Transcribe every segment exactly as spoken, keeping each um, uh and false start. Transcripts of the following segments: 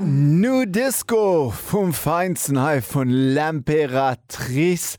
Nu Disco vum Feinsten hei vun L'Impératrice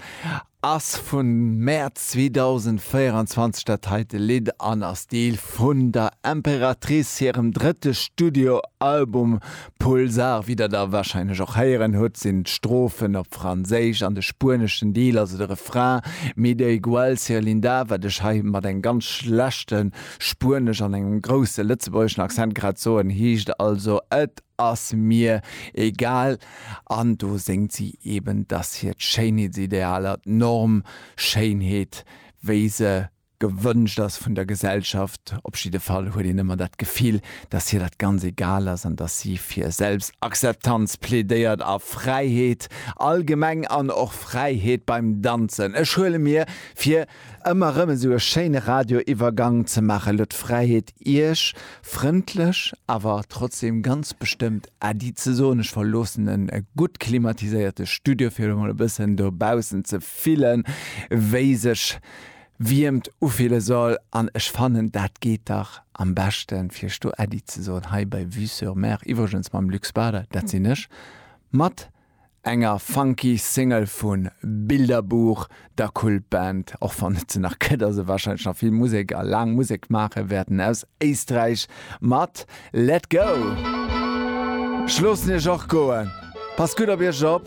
ass vun Mäerz zweedausendvéieranzwanzeg dat heite Lidd an ass Deel vun der Impératrice hirem drëtte Studioalbum Pulsar. Wéi der da warscheinlech och héieren hutt, sinn d'Strophen op Franséisch an de spueneschen Deel, also de Refrain, Me da igual ser linda, wat ech hei mat engem ganz schlechte Spuenesch an engem grousse lëtzebuergeschen Accent grad soen, heescht also Et ass mir egal. An do séngt si eben, dass hiert Schéinheetsidealer, d'Norm Schéinheet, wéi se gewënscht ass vun der Gesellschaft, op jidde Fall huet een ëmmer dat Gefill, dass hir dat ganz egal ass an dass si fir Selbstakzeptanz plädéiert a Fräiheet allgemeng an och Fräiheet beim Danzen. Ech huele mir fir, ëmmer erëm esou e schéine Radioiwwergang ze maachen, elo d'Fräiheet, Iech frëndlech, awer trotzdem ganz bestëmmt Äddi ze soen. Ech verloossen e gutt klimatiséierte Studio, fir emol e bëssen dobaussen ze fillen, wéi sech Wiermt ufille soll. An ech fannen, dat geet dach am beschten, fir iech do Äddi ze soen, hei bei Vue sur Mer, iwwregens mam Luc Spader, dat sinn ech, mat enger funky Single vu Bilderbuch, der Kultband, och wann et se nach gëtt a se warscheinlech nach vill Musek a laang Musek maache wäerten, aus Éisträich mat Let Go. Ech loossen iech och goen. Passt gutt op iech op,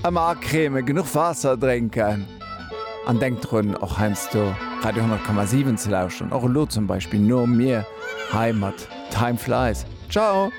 ëmmer acremen, genuch Waasser drénken an denkt drun och heiansdo Radio honnert Komma siwen ze lauschteren, och elo zum Beispill no mir hei mat Time Flies. Ciao!